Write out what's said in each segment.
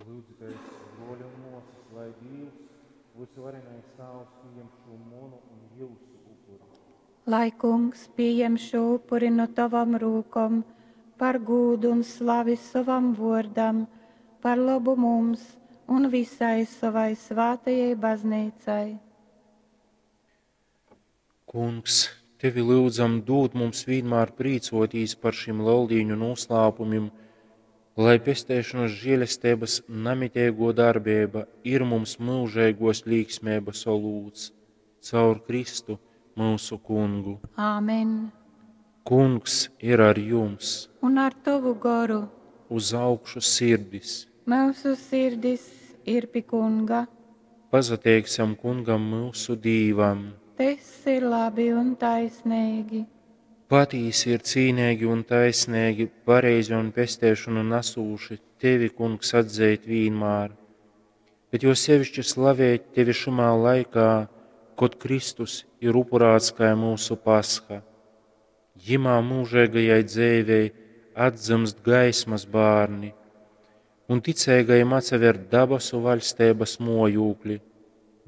Lyudzitēs, bruoļi un muosys, lai Dīvs, vysuvarenais Tāvs, pījem šū munu un jyusu upuri. Lai Kungs pījem šū upuri nu tovom rūkom par gūdu un slavi sovam vuordam, par lobu mums un visai sovai svātajai bazneicai. Kungs, tevi lyudzam, dūd mums vīnmār prīcuotīs par šim Leldīņu nūslāpumim, lai pesteišonas žielesteibas namiteiguo darbeiba ir mums myužeiguos līksmeibas olūts. Caur Kristu, myusu Kungu. Āmen. Kungs ir ar jums! Un ar tovu goru. Uz augšu sirdis! Myusu sirdis ir pi Kunga. Pasateiksim Kungam myusu Dīvam! Tys ir labi un taisneigi. Patīsi ir cīneigi un taisneigi, pareizi un pesteišonu nasūši tevi, Kungs, atzeit vīnmār, bet jo sevišķi slavēt tevi šymā laikā, kod Kristus ir upurāts kai myusu Pasha. Jimā mūžeigajai dzeivei atdzymst gaismas bārni, un ticeigajim atsaver dabasu vaļsteibas mojūkli,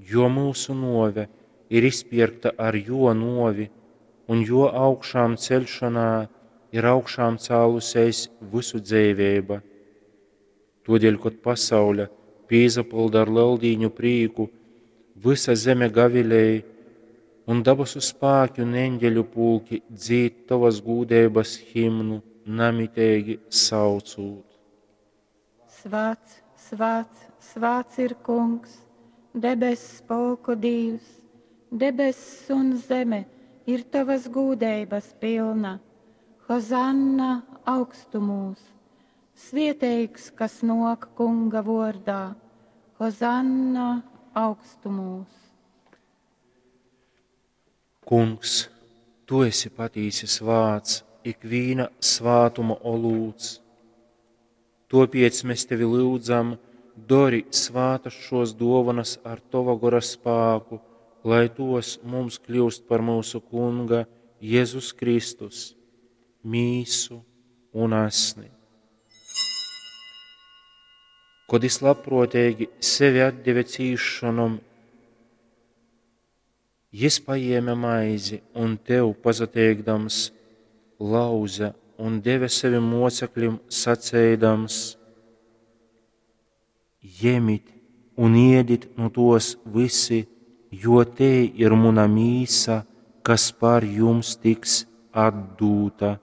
jo myusu nuove ir izpierkta ar juo nuovi, un juo augšām ceļšanā ir augšām cālusēs vysu dzeiveiba. Todēļ, kod pasaule pīsapylda ar Leldīņu prīku, vysa zeme gavilej, un dabasu spāki un eņģeļu pulki dzīd tovas gūdeibas himnu, namiteigi saucūt. Svāts, svāts, svāts ir Kungs, debess spolku Dīvs, debess un zeme ir tavas gūdeibas pilna. Hozanna augstumūs! Svieteigs, kas nāk Kunga vordā! Hozanna augstumūs! Kungs, tu esi patīsi svāts, ikvīna svātuma olūts. Topiec mēs tevi lyudzam, dori svātas šos dovanas ar tova gora spāku, lai tos mums kļūst par mūsu Kunga Jēzus Kristus, mīsu un asni. Kod jis labprōteigi sevi atdeve cīsšonom, jis paēma maizi un tev pasateikdams lauze un deve sevim moceklim, saceidams: Jemit un iedit nu tos visi, jo tei ir muna mīsa, kas par jums tiks atdūta.